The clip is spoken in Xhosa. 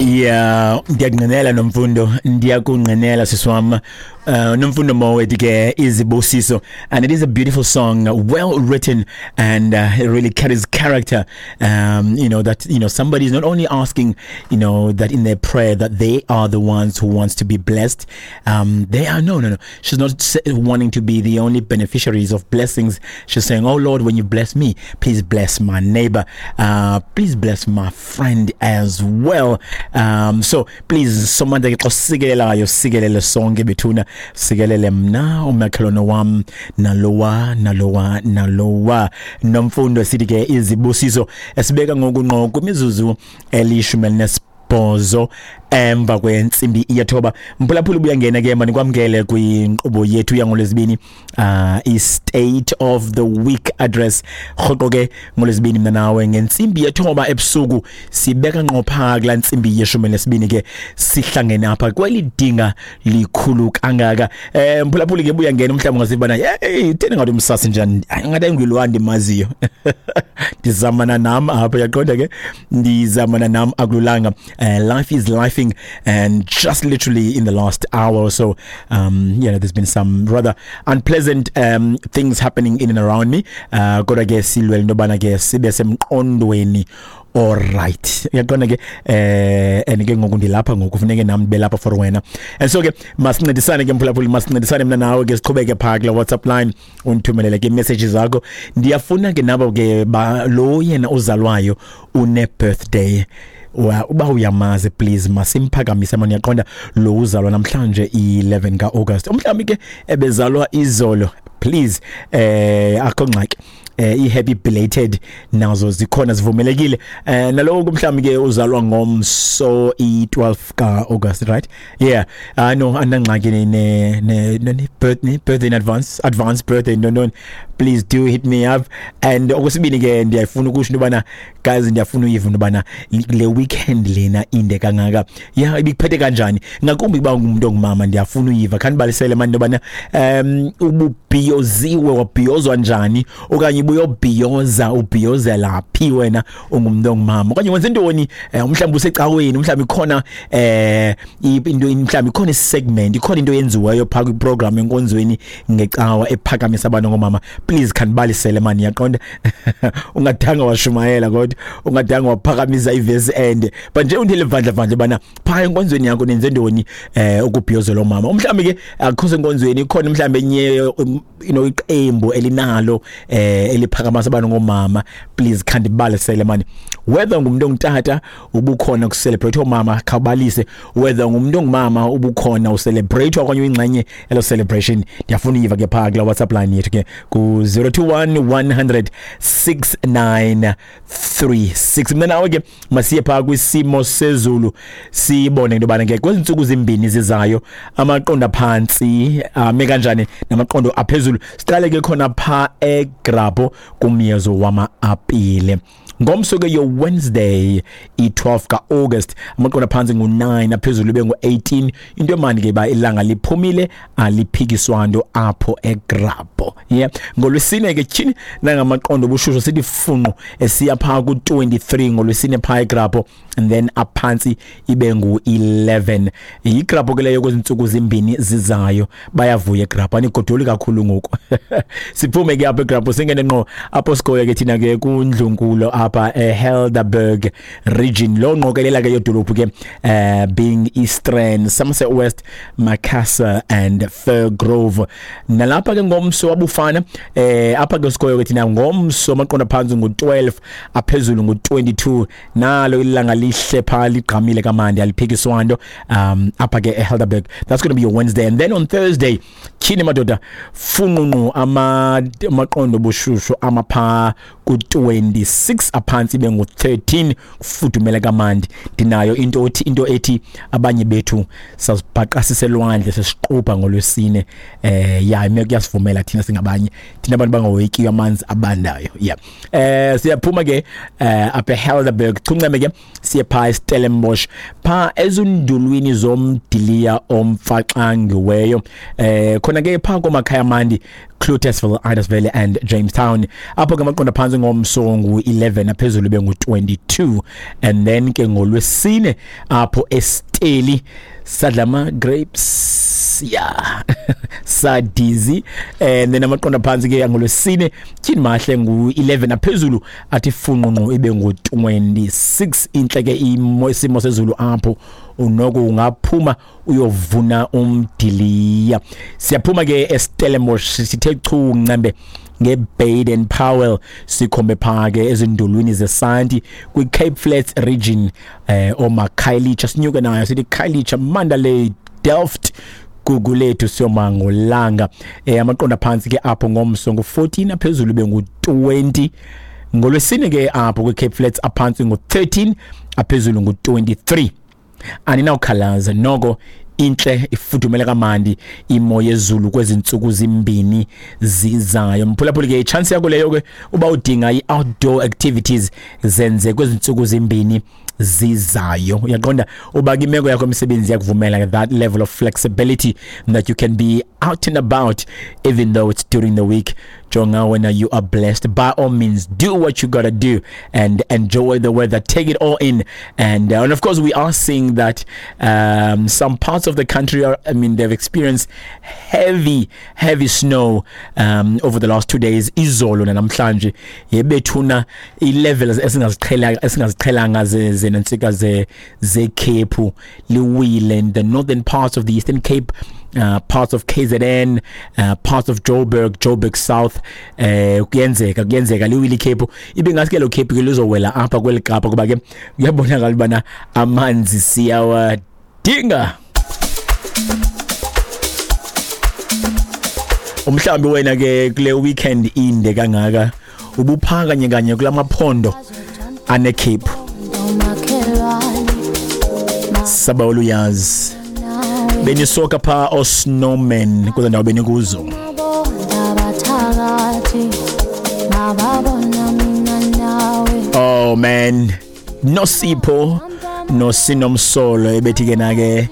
Yeah, ndiyakunqinela Nomfundo, ndiyakunqinela siswam. Nomfundo Mowet ke, Izibusiso, and it is a beautiful song, well written, and it really carries character. That somebody is not only asking, that in their prayer that they are the ones who wants to be blessed. They are no, no, no. She's not wanting to be the only beneficiaries of blessings. She's saying, "Oh Lord, when you bless me, please bless my neighbor. Please bless my friend as well." So please, Somandla ke, xa usikelelayo sikelele sonke bethuna, sikelele mna, umakhelwane wam, nalowa, nalowa, nalowa. Nomfundo, sithi ke Izibusiso, esibeka ngoku ngqo kwimizuzu 18 emva kwentsimbi 9. Mphulaphula, ubuyangena ke, manikwamkele kwinkqubo yethu yangoLwezibini, i-State of the Week Address. Rhoqo ke ngoLwezibini mna nawe ngentsimbi 9 ebusuku sibeka ngqo phaa kulaa ntsimbi 12 ke, sihlangene apha kweli dinga likhulu kangaka. Mphulaphuli ke, buyangena, umhlawumbi ungazibana, hey, theni ngathi umsasi njani, ngathi ayingulwa ndimaziyo. Ndizamana nam apha, yaqonda ke, ndizamana nam, akululanga. Life is lifing, and just literally in the last hour or so, there's been some rather unpleasant things happening in and around me. Kodwa ke silwele into yobana ke sibe semqondweni. Alright, uyaqonda ke, and ke ngoku ndilapha, ngoku funeke nam ndibe lapha for wena. And so ke masincedisane ke, mphulaphuli, masincedisane mna nawe ke, siqhubeke phaa kula WhatsApp line, undithumelele ke messages zakho. Ndiyafuna ke nabo ke ba lo yena uzalwayo une birthday, uba uyamazi, please masimphakamise mani. Uyaqonda, lo uzalwa namhlanje i-11 ka-August, umhlawumbi ke ebezalwa izolo, please, akho ngxaki, i-happy belated nazo zikhona, zivumelekile. Nalowo mhlawumbi ke uzalwa ngomso i-12 ka-August, right? Yeah, no, andangxaki ne ne ne ne birthday in advance, advance birthday, no, please do hit me up. And okwesibini ke, ndiyafuna ukusho into yobana, guys, ndiyafuna uyiva into yobana le weekend lena inde kangaka ya ibikuphethe kanjani, ngakumbi kuba ngumuntu ongumama. Ndiyafuna uyiva, khanibalisele mani into yobana ububhiyoziwe, wabhiyozwa njani, okanye ubuyobhiyoza, ubhiyozela phi wena ungumntu ongumama, okanye wenze ntoni? Mhlawumbi usecaweni, mhlawumbi ikhona into, mhlawumbi ikhona isegment, ikhona into eyenziweyo phaa kwiprogram enkonzweni ngecawa ephakamisa abantu ngomama. Please khanibalisele mani. Yaqonda, ungadanga washumayela, kodwa ungadanga waphakamisa ivesi ende, but nje undile vandla vandla bana phaa enkonzweni yakho nenze ntoni ukubhiyozela omama. Mhlawumbi ke akukho senkonzweni, ikhona mhlawumbi enye iqembu elinalo eliphakamisa abantu ngomama. Please khandibalisele mani. Whether ngumuntu ongutata ubukhona kucelebrate omama, khawubalise. Whether ngumuntu ongumama ubukhona ucelebrate okanye uyingxenye elo celebration, ndiyafuna uyiva ke phaa kula WhatsApp line yethu ke ku 021 100 6936. Mna nawe ke masiye phaa kwisimo sezulu, sibone into yobana ke kwezi ntsuku zimbini zizayo amaqondo aphantsi ame kanjani namaqondo aphezulu. Siqale ke khona phaa eGrabho kumyezo wama-apile. Ngomso ke, yo Wednesday i-12 ka-August, amaqondo aphantsi ngu-9, aphezulu ibe ngu-18. Into emandi ke ba ilanga liphumile, aliphikiswa nto apho eGrabho. Yeah, ngolwesine ke, tyhini, nangamaqondo obushushu, sithi funqu esiya phaa ku-23 ngolwesine phaa eGrabho, and then aphantsi ibe ngu-11. YiGrabho ke leyo kwezi ntsuku zimbini zizayo. Bayavuya eGrabho, anigodoli kakhulu ngoku. Siphume ke apha eGrabho, singene ngqo apho sikhoyo ke thina ke kundlunkulu apha eHelderberg region, lo ngqokelela ke yodolophu ke, being Eastern, Somerset West, Macassar and Firgrove. Nalapha ke ngomso wabufana, apha ke sikhoyo ke thina ngomso amaqondo phantsi ngu-12, aphezulu ngu-22. Nalo ilanga lihle phaa, ligqamile kamandi, aliphikiswa nto apha ke eHelderberg. That's going to be your Wednesday. And then on Thursday, tyhini madoda, funqunqu, amaqondo obushushu amapha ku-26, aphantsi ibe ngu-13, kufudumele kamandi. Ndinayo into ethi abanye bethu sazibhaqa siselwandle sesiqubha ngolwesine. Ya, imeko kuyasivumela thina, singabanye thina abantu bangawoyikiyo amanzi abandayo. Yeah, siyaphuma ke apha eHelderberg, chunceme ke siye phaa eStellenbosch, phaa ezundulwini zomdiliya omfaxangiweyo, khona ke phaa komakhaya amandi, Cloetesville, Idasville and Jamestown. Apho ke amaqondo phantsi ngomso ngu-11. ngu-11, aphezulu ibe ngu-22. And then ke ngolwesine apho eSteli sadla ama-grapes, yeah, sadizi. And then amaqondo aphantsi ke ngolwesine, tyhini mahle, ngu-11, aphezulu athi funqunqu ibe ngu-26. Intle ke isimo sezulu apho, unoko ungaphuma uyovuna umdiliya. Siyaphuma ke eStellenbosch, sithe chu ncembe ngeBaden Powell, sikhombe phaa ke ezindulwini zesanti kwi-Cape Flats region, omakhayelitsha, sinyuke nayo sithi Khayelitsha, Mandalay, Delft, Gugulethu, siyoma ngolanga. Amaqondo aphantsi ke apho ngomso ngu-14, aphezulu bengu-20. Ngolwesine ke apho kwi-Cape Flats aphantsi ngu-13, aphezulu ngu-23. Aninawukhalaza noko, intle, ifudumele kamandi imo yezulu kwezi ntsuku zimbini zizayo. Mphulaphuli, ke chance yakho leyo ke uba udinga i-outdoor activities, zenze kwezi ntsuku zimbini zizayo. Uyaqonda uba imeko yakho yomsebenzi yakuvumela that level of flexibility that you can be out and about even though it's during the week, jonga wena, you are blessed. By all means, do what you gotta do and enjoy the weather, take it all in. And of course we are seeing that some parts of the country are, I mean, they've experienced heavy, heavy snow over the last 2 days, izolo namhlanje. Yebethuna, i-levels esingaziqhelanga zenantsika zekhephu liwile in the northern parts of the Eastern Cape, parts of KZN, parts of Joburg, Joburg South. Kuyenzeka liwile ikhephu, ibe ngathi ke lo khephu ke lizowela apha kweli Kapa, kuba ke kuyabonakala ubana amanzi siyawadinga. Umhlawumbi wena ke kule weekend inde kangaka ubupha kanye kanye kulamaphondo anekhephu, sabawula uyazi benisoka pha osnowman kule ndawo benikuzo. Oh man, Nosipho noSinomsolo ebethi ke na ke.